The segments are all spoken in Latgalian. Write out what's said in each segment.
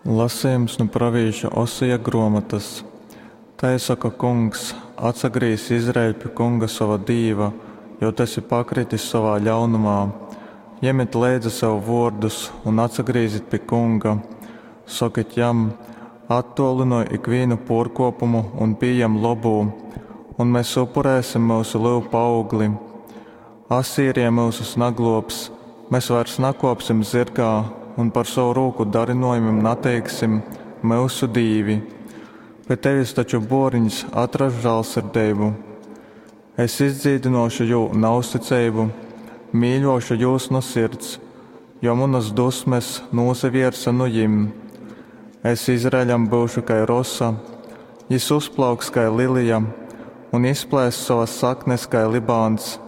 Lasejums nu pravīša Oseja gruomotys. Tai soka Kungs, Atsagrīz, Izraeļ, pi Kunga sova Dīva, jo tu esi pakritis sovā ļaunumā. Jemit leidza sev vuordus un atsagrīzit pi Kunga. Sokit jam, Attuolynoj ikvīnu puorkuopumu un pījem lobū, un mes upurēsim myusu lyupu augli. Asīrija myusus nagluobs, mes vairs nakuopsim zyrgā un par sovu rūku darinojumim nateiksim: Myusu dīvi! Pi tevis taču buoriņs atrass žālsirdeibu. Es izdzīdynuošu jū nauzticeibu, mīļuošu jūs nu sirds, jo munys dusmes nūsavierse nu jim. Es Izraeļam byušu kai rosa, jis uzplauks kai lilija un izplēss sovas saknes kai Libāns.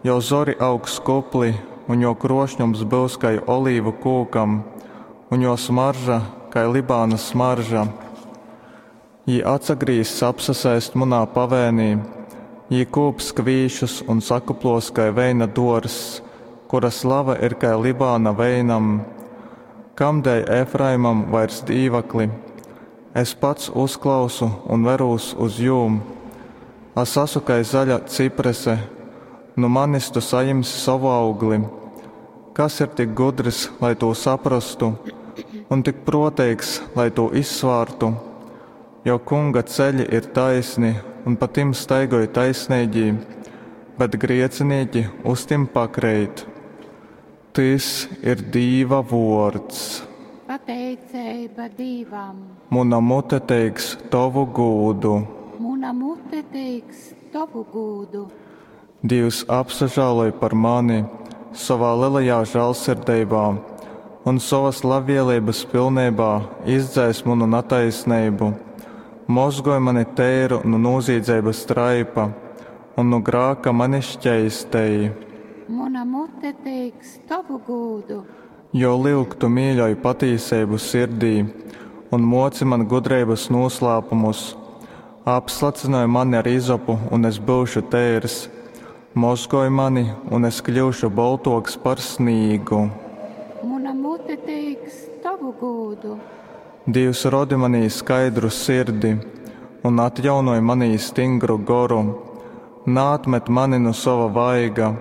Jō zori augs kupli un jō kruošņums byus kai olīvu kūkam, un jō smarža kai Libānas smarža. Jī atsagrīzs apsasēst munā pavēnī, jī kūps kvīšus un sakuplos kai veina duorzs, kura slava ir kai Libāna veinam. Kamdēļ Efraimam vairs dīvakli? Es pats uzklausu un verūs uz jūm. As asu kai zaļa ciprese, nu manis tu sajimsi sovu augli. Kas ir tik gudrs, lai tū saprastu, un tik pruoteigs, lai tū izsvārtu? Jo Kunga ceļi ir taisni, un pa tim staigoj taisneigī, bet griecinīki uz tim pakreit. Tys ir Dīva vuords. Pateiceiba Dīvam. Muna mute teiks tovu gūdu. Muna mute teiks tovu gūdu. Dīvs apsažāloj par mani sovā lelajā žālsirdeibā un sovas labvieleibas pilneibā izdzēs munu nataisneibu. Mozgoj mani teiru nu nūzīdzeibas traipa un nu grāka mani šķeistej. Muna mute teiks tovu gūdu. Jo lyuk, tu mīļoj patīseibu sirdī un muoci man gudreibas nūslāpumus. Apslacynoj mani ar izopu, un es byušu teirs. Mozgoj mani, un es kļyušu boltuoks par snīgu. Muna mute teiks tovu gūdu. Dīvs rodi manī skaidru sirdi un atjaunoj manī stingru goru. Naatmet mani nu sova vaiga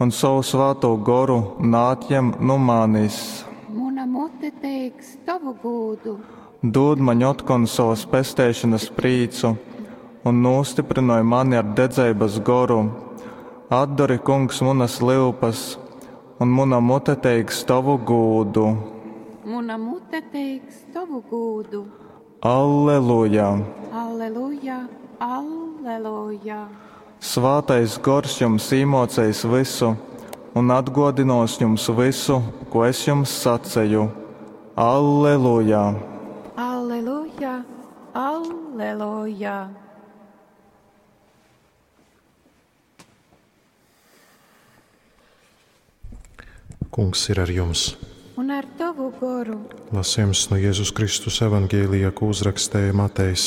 un sovu svātū goru naatjem nu manis. Muna mute teiks tovu gūdu. Dūd maņ otkon sovas pesteišonas prīcu un nūstyprynoj mani ar dedzeibas goru. Atdori, Kungs, munas lyupas, un muna mute teiks tovu gūdu. Muna mute teiks tovu gūdu. Alleluja! Alleluja, alleluja. Svātais gors jums īmōceis vysu un atgōdynōs jums vysu, ko es jums saceju. Alleluja! Alleluja, alleluja. Kungs ir ar jums. Un ar tovu goru. Lasījums no Jēzus Kristus evaņģēlija, ko uzrakstēja Matejs.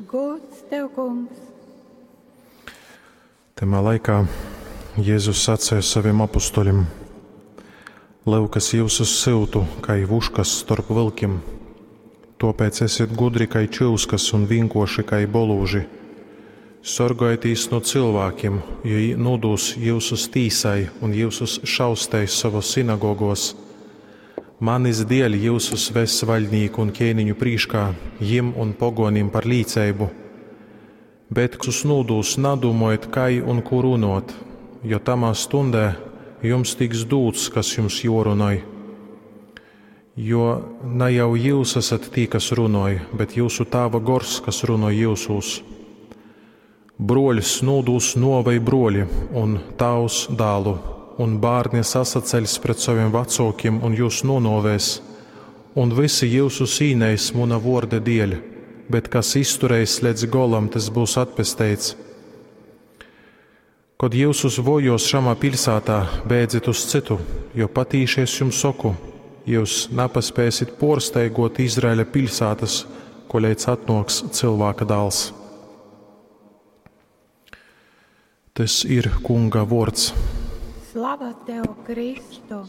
Gods tev, kungs. Tamā laikā Jēzus sacēja saviem apustuļiem: Lyuk, es jyusus syutu, kai vuškas storp vylkim. Tōpēc esiet gudri kai čyuskas un vienkārši kai bolūži. Sorgojieties no cilvēkiem, jo jī nūdūs jyusus tīsai un jyusus šausteis savos sinagogos. Manis dēļ jyusus ves vaļnīku un ķēniņu prīškā, jim un pogonim par līceibu. Bet, kas nūdūs, nadūmojiet, kai un ko runot, jo tamā stundē jums tiks dūts, kas jums jorunoj. Jo ne jau jūs esat tī, kas runoj, bet jūsu tāva gors, kas runoj jūsūs. Broļs nūdūs nuovei broļi, un tāvs dālu, un bērni sasaceļs pret saviem vecākiem un jūs nonovēs, un visi jūsu īneis muna vorda dēļ, bet kas izturēs līdz golam, tas būs atpesteits. Kad jūsus vojos šamā pilsētā, bēdzit uz citu, jo patīši es jums saku, jūs nepaspēsit porsteigot Izraēļa pilsētas, koleidz atnoks cilvēka dāls. Tas ir Kunga vārds. Slava tev, Kristu!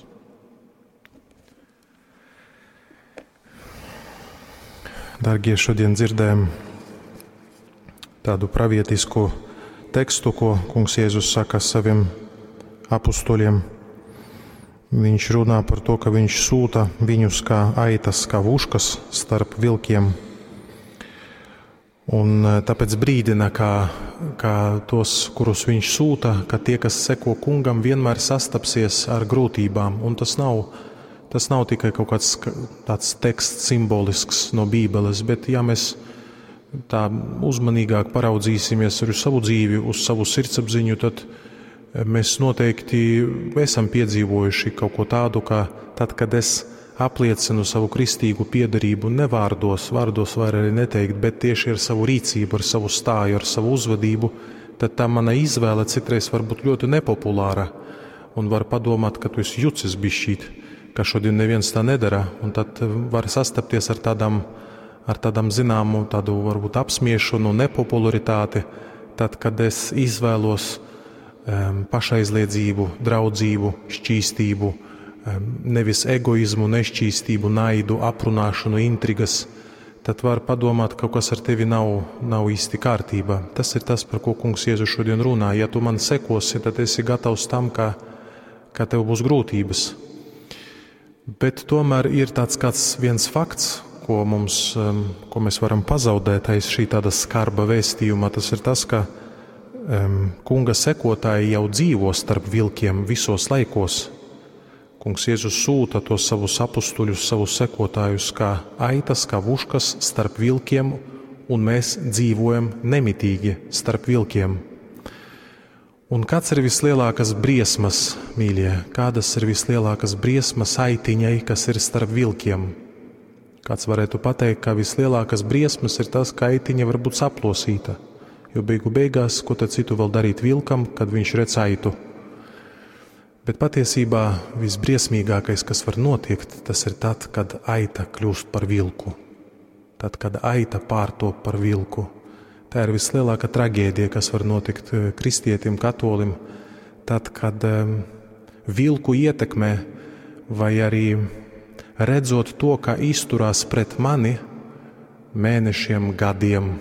Dargie, šodien dzirdējam tādu pravietisku tekstu, ko Kungs Jēzus saka saviem apustuļiem. Viņš runā par to, ka viņš sūta viņus kā aitas, kā vuškas starp vilkiem. Un tāpēc brīdina, ka tos, kurus viņš sūta, ka tie, kas seko kungam, vienmēr sastapsies ar grūtībām. Un tas nav tikai kaut kāds tāds teksts simbolisks no Bībeles, bet ja mēs tā uzmanīgāk paraudzīsimies arī uz savu dzīvi, uz savu sirdsapziņu, tad mēs noteikti esam piedzīvojuši kaut ko tādu, ka tad, kad es apliecinu savu kristīgu piederību ne vārdos, vārdos var arī neteikt, bet tieši ar savu rīcību, ar savu stāju, ar savu uzvedību, tad tā mana izvēle citreiz var būt ļoti nepopulāra un var padomāt, ka tu esi jucis bišķīt, ka šodien neviens tā nedara, un tad var sastapties ar tādām zināmu tādu varbūt apsmiešanu, nepopularitāti, tad, kad es izvēlos pašaizliedzību, draudzību, šķīstību, nevis egoizmu, nešķīstību, naidu, aprunāšanu, intrigas, tad var padomāt, ka kaut kas ar tevi nav īsti kārtībā. Tas ir tas, par ko Kungs Jēzus šodien runā. Ja tu man sekosi, tad esi gatavs tam, ka tev būs grūtības. Bet tomēr ir tāds kāds viens fakts, ko mēs varam pazaudēt aiz šī tāda skarba vēstījuma. Tas ir tas, ka kunga sekotāji jau dzīvo starp vilkiem visos laikos. Kungs Jēzus sūta tos savus apustuļus, savus sekotājus kā aitas, kā vuškas starp vilkiem, un mēs dzīvojam nemitīgi starp vilkiem. Un kāds ir vislielākās briesmas, mīļie? Kādas ir vislielākās briesmas aitiņai, kas ir starp vilkiem? Kāds varētu pateikt, ka vislielākās briesmas ir tas, ka aitiņa var būt saplosīta, jo beigu beigās, ko tad citu vēl darīt vilkam, kad viņš redz aitu? Bet patiesībā visbriesmīgākais, kas var notikt, tas ir tad, kad aita kļūst par vilku. Tad, kad aita pārtop par vilku. Tā ir vislielākā traģēdija, kas var notikt kristietim, katolim, tad, kad vilku ietekmē vai arī redzot to, kā izturās pret mani mēnešiem, gadiem,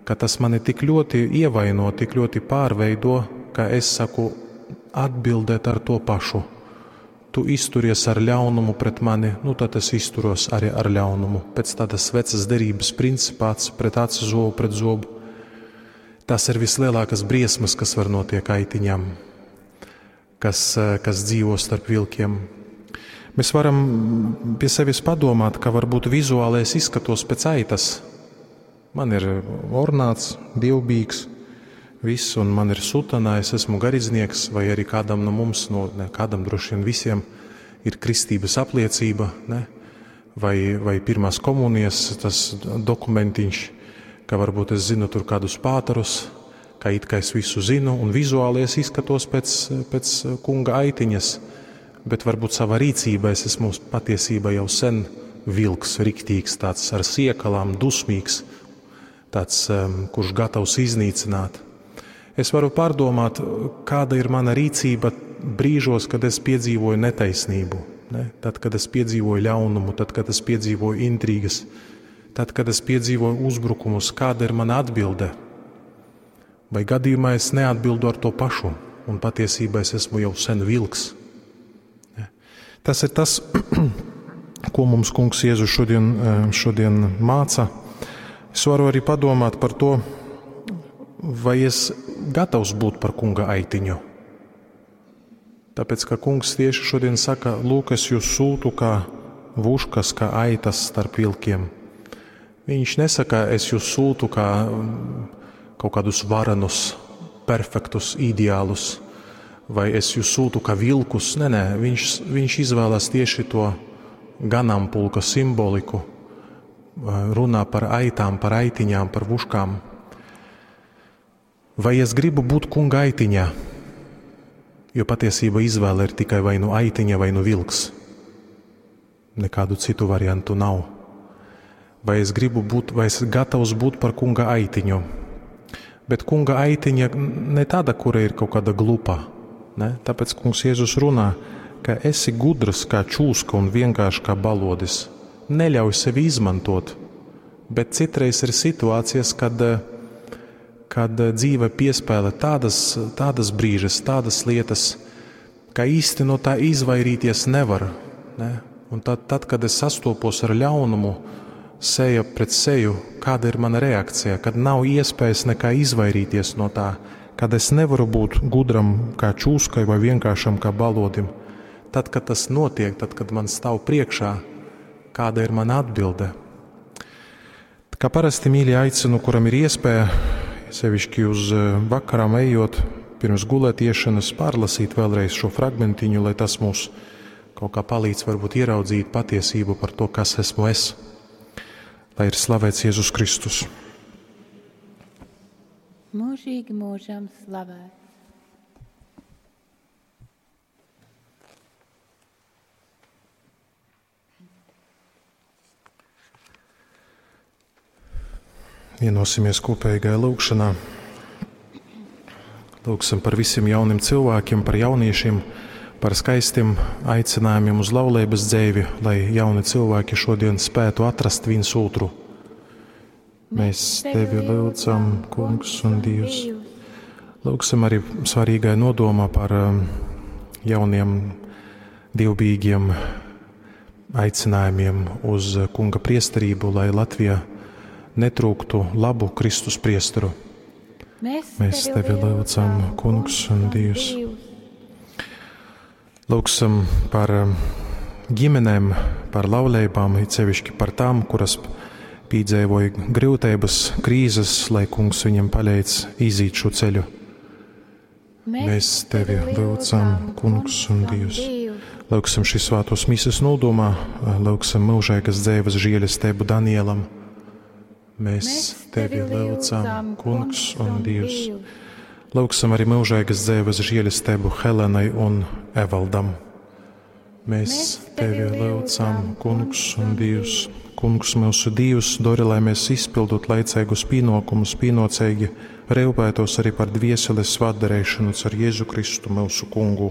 ka tas mani tik ļoti ievaino, tik ļoti pārveido, ka es saku atbildēt ar to pašu. Tu izturies ar ļaunumu pret mani, nu tad es izturos arī ar ļaunumu. Pēc tādas vecas derības principā, acs pret aci, zobu pret zobu. Tas ir vislielākās briesmas, kas var notiek aitiņām, kas dzīvo starp vilkiem. Mēs varam pie sevis padomāt, ka varbūt vizuāli es izskatos pēc aitas. Man ir ornāts, dievbijīgs, viss, un man ir sutanā, es esmu garīdznieks, vai arī kādam no mums, no, ne, kādam droši vien visiem, ir kristības apliecība, ne? Vai pirmās komunijas tas dokumentiņš, ka varbūt es zinu tur kādus pāterus, ka it kā es visu zinu, un vizuāli es izskatos pēc kunga aitiņas, bet varbūt savā rīcībā es esmu patiesībā jau sen vilks, riktīgs, tāds ar siekalām, dusmīgs, tāds, kurš gatavs iznīcināt. Es varu pārdomāt, kāda ir mana rīcība brīžos, kad es piedzīvoju netaisnību, ne? Tad, kad es piedzīvoju ļaunumu, tad, kad es piedzīvoju intrigas, tad, kad es piedzīvoju uzbrukumus, kāda ir mana atbilde? Vai gadījumā es neatbildu ar to pašu, un patiesībā es esmu jau sen vilks? Ne? Tas ir tas, ko mums Kungs Jēzus šodien māca. Es varu arī padomāt par to, vai es gatavs būt par kunga aitiņu. Tāpēc, ka kungs tieši šodien saka, lūk, es jūs sūtu kā vuškas, kā aitas starp vilkiem. Viņš nesaka, es jūs sūtu kā kaut kādus varenus, perfektus ideālus, vai es jūs sūtu kā vilkus. Nē, nē, viņš izvēlas tieši to ganāmpulka simboliku, runā par aitām, par aitiņām, par vuškām. Vai es gribu būt kunga aitiņā? Jo patiesība izvēle ir tikai vai nu aitiņa, vai nu vilks. Nekādu citu variantu nav. Vai es gribu būt, vai es gatavs būt par kunga aitiņu? Bet kunga aitiņa ne tāda, kura ir kaut kāda glupa. Ne? Tāpēc kungs Jēzus runā, ka esi gudrs kā čūska un vienkārši kā balodis. Neļauj sevi izmantot. Bet citreiz ir situācijas, kad, kad dzīve piespēlē tādas, tādas brīžas, tādas lietas, ka īsti no tā izvairīties nevar. Ne? Un tad, tad, kad es sastopos ar ļaunumu, seja pret seju, kāda ir mana reakcija, kad nav iespējas nekā izvairīties no tā, kad es nevaru būt gudram kā čūskai vai vienkāršam kā balodim. Tad, kad tas notiek, tad, kad man stāv priekšā, kāda ir mana atbilde? Kā parasti mīļi aicinu, kuram ir iespēja, sevišķi uz vakarām ejot, pirms gulēt iešanas, pārlasīt vēlreiz šo fragmentiņu, lai tas mūs kaut kā palīdz varbūt ieraudzīt patiesību par to, kas esmu es. Lai ir slavēts Jēzus Kristus. Mūžīgi mūžam slavēts. Vienosimies kopīgajā lūgšanā. Lūgsim par visiem jauniem cilvēkiem, par jauniešiem, par skaistiem aicinājumiem uz laulības dzīvi, lai jauni cilvēki šodien spētu atrast viens otru. Mēs tevi lūdzam, Kungs un Dievs. Lūgsim arī svarīgai nodomā par jauniem dievbijīgiem aicinājumiem uz Kunga priesterību, lai Latvija netrūktu labu Kristus priesteru. Mēs, Mēs tevi lūdzam, Kungs un Dievs. Lūgsim par ģimenēm, par laulībām, it sevišķi par tām, kuras piedzīvoja grūtības, krīzes, lai Kungs viņam palīdz iziet šo ceļu. Mēs tevi lūdzam, Kungs un Dievs. Lūgsim šīs svētos mises nodomā, lūgsim mūžīgas dzīves žēlastību Danielam. Mēs tevi lūdzam, Kungs un Dievs. Lūgsim arī mūžīgas dzīves žēlastību Helenai un Evaldam. Mēs tevi lūdzam, Kungs un Dievs. Kungs, mūsu Dievs, dori, lai mēs izpildot laicīgus pienākumus, pienācīgi rūpētos arī par dvieseles svētdarīšanu caur Jēzu Kristu, mūsu Kungu.